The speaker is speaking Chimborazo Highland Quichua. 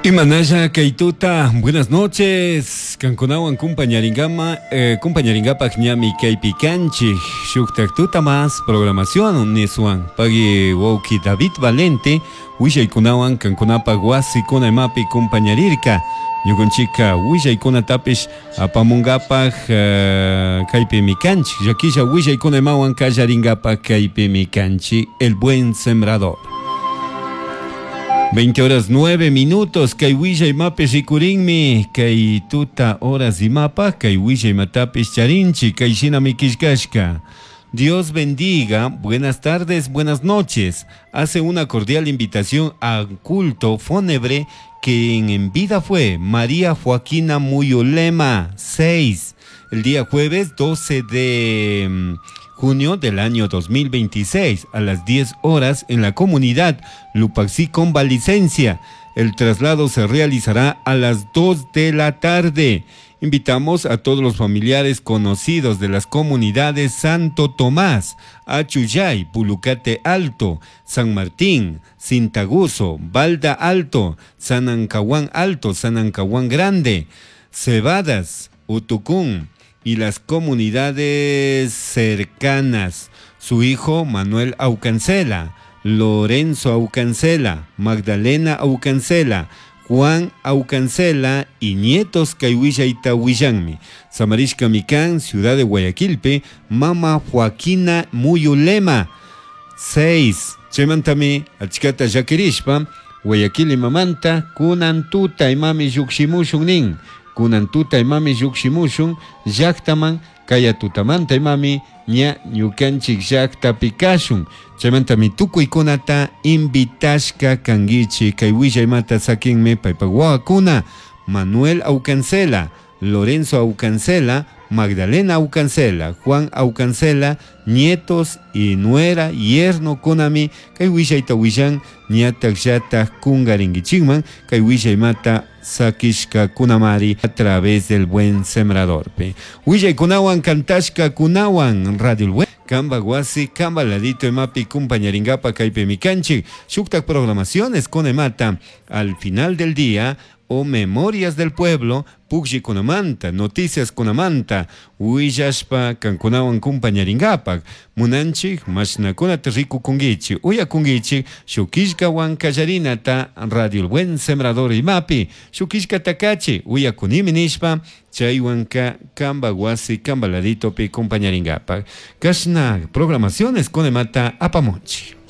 Imanalla kay tuta, buenas noches. Kankunawan kumpañaringama, kumpañaringapaj ñami kaypi kanchik. Shuktak tuta más programación niswan. Pagui wawki David Valente, willaykunawan kankunapaj wasikuna imapi kumpañarirka. Ñukanchikka willaykunatapish apamunkapaj kaypimi kanchik. Llakilla willaykuna imawan kallaringapaj kaypimi kanchik. El Buen Sembrador. 20 horas 9 minutos, kay willay imapi rikurinmi, kay tuta horas imapaj, kay willay imatapish charinchik, kay shinami killkashka. Dios bendiga, buenas tardes, buenas noches. Hace una cordial invitación al culto fúnebre que en vida fue María Joaquina Muyulema, 6, el día jueves 12 de junio del año 2026 a las 10 horas en la comunidad Lupaxí con licencia. El traslado se realizará a las 2 de la tarde. Invitamos a todos los familiares conocidos de las comunidades Santo Tomás, Achuyay, Pulucate Alto, San Martín, Cintaguso, Balda Alto, San Ancahuán Alto, San Ancahuán Grande, Cebadas, Utucún y las comunidades cercanas. Su hijo Manuel Aucancela, Lorenzo Aucancela, Magdalena Aucancela, Juan Aucancela y nietos kay willayta willanmi. Samarishka Micán, ciudad de Guayaquilpe, Mama Joaquina Muyulema. 6. Chaymantami achkata llakirishpa, Guayaquil imamanta, kunan tuta imami llukshimushun nin. Kunan tuta imami llukshimushun, llaktaman, kaya tutamanta imami, ña ñukanchik llaktapi kashun. Chaymantami tukuykunata invitashka kankichik. Kay willaymata sakinmi paypak wawakuna Manuel Aucancela, Lorenzo Aucancela, Magdalena Aucancela, Juan Aucancela, nietos y nuera, yerno kunami, kay willayta willan ñatak llatak kungarinkichikman, kay willaymata sakishka kunamari a través del Buen Sembrador. Willaykunawan kantashka kunawan Radio El Buen Kamba wasi, Kamba ladito imapi kumpañaringapa kaypimi kanchik. Shuktak programaciones con emata al final del día o Memorias del Pueblo, Pukllikunamanta, Noticias kunamanta, willashpa kankunawan kumpañaringapak, munanchik mashnakunata rikukunkichik, uyakunkichik, shuk killkawan kallarinata Radio El Buen Sembrador imapi, shuk killkata kachi, uyakunimi nishpa, chaywanka kamba wasi, kamba laditopi kumpañaringapak. Kashna programaciones con emata apamunchik.